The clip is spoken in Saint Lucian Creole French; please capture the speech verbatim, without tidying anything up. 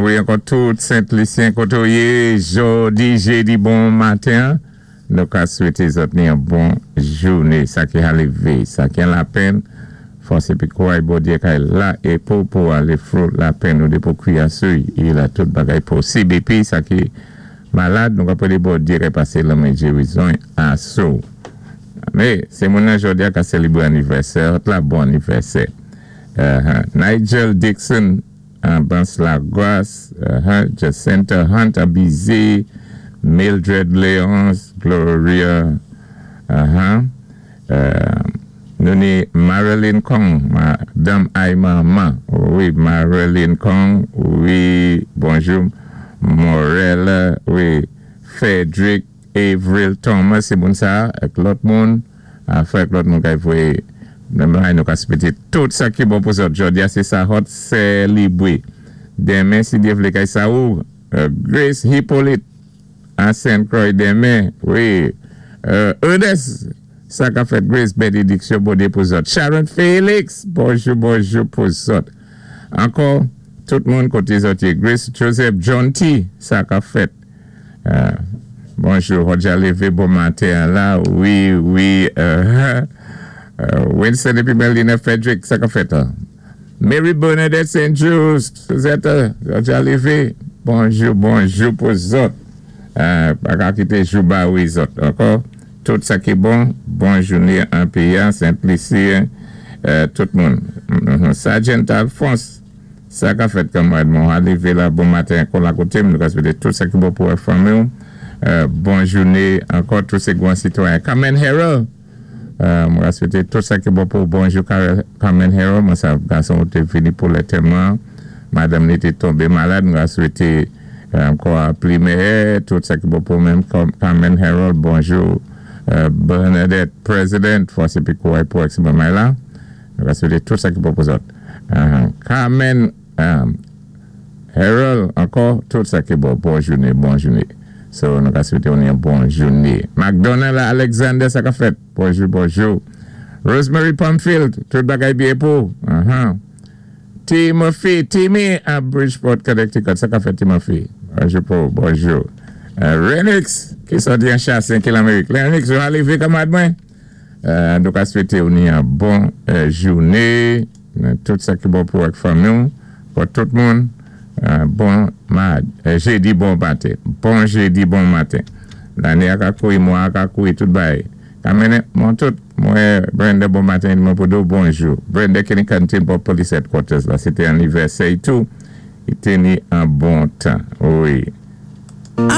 Wi, ankò tout Sent-Lisyen koté ou yé, jòdi, jédi, bon maten. Nou ka swété zòt ni yon bon jouné, sa ki ka lévé, sa ki an lapenn, fòs épi kouray Bondyé kay la, é pou pou alé through lapenn ou dé pou kwiyasou, i la tout bagay posib. Épi sa ki malad, nou ka pwédé Bondyé kay pasé lanmen gérizon asou. Mé, sé moun nan jòdi-a ka sélébré anivèsè, la bon anivèsè. Uh-huh. Nigel Dixon, an Bans Lagwas, uh-huh. Jacinta Hunt, Abizé, Mildred Leonce, Gloria, uh-huh. Uh, nou ni Marilyn Kong, Madame Aymaman, wi, Marilyn Kong, wi, bonjou, Morel, wi, Frederick Avril Thomas, sé moun sa, ak lòt moun, afè ak lòt moun kay voyé, nou ka swété tout sa ki bon pou zòt jòdi-a, sé sa hot sélébré. Denmen, si Dyé vlé kay sa ou, Grace Hippolyte, an Saint Croix denmen, wi, Ernest, sa ka fèt Grace bénédiksyon Bondyé pou zòt. Sharon Felix, bonjou, bonjou pou zòt. Ankò, tout moun koté zòt yé. Grace Joseph John T, sa ka fèt. Bonjou, Roger lévé, bon maten la, wi, wi, Winston épi Melina Frederick, sa ka fèt. Mary Bernadette Saint Just, Suzette, Roger lévé, bonjou, bonjou pou zòt. Pa ka kité jou ba wi zòt. Ankò, tout sa ki bon, bon jouné an péyi, Sent-Lisi, tout moun. Sergeant Alphonse, sa ka fèt kanmarad mwen, alévé la bon maten kon la koté, nou ka swété tout sa ki bon pou fanmi ou. Bon jouné, ankò tout sé gwan sitwayen. Carmen Harold, mwen ka swété tout sa ki bon pou bonjou Carmen Harold, mwen sa gason ou té vini pou lantèman, madanm ni té tonbé malad, mwen ka swété ankò pli méyè, tout sa ki bon pou menm Carmen Harold, bonjou Bernadette President, fòs épi kouray pou ek si bon may la, nou ka swété tout sa ki bon pou zòt. Carmen Harold, ankò, tout sa ki bon, bon jouné, bon jouné. So, nou ka swété ou ni yon bon jouné. McDonald Alexander, sa ka fèt, bonjou, bonjou. Rosemary Pumfield, tout bagay byen pou. Timothy, Timmy, a Bridgeport, Connecticut, sa ka fèt Timothy. Bonjou pou, bonjou. Renix, ki soti an Chassin, ki l'Amerik. Renix, ou alévé kanmad mwen? Nou ka swété ou ni yon bon jouné. Tout sa ki bon pou ak fanmi ou, pou tout moun. Bon jédi, bon maten. Bon jédi, bon maten. Lanné a ka kouri, mwa a ka kouri, tout bay. Kamene, mwen tout, mwen Brenda bon maten, mwen pou do bonjou. Brenda ki ni kantin pou police headquarters la, sé té anivèsè tou. I té ni an bon tan, wi.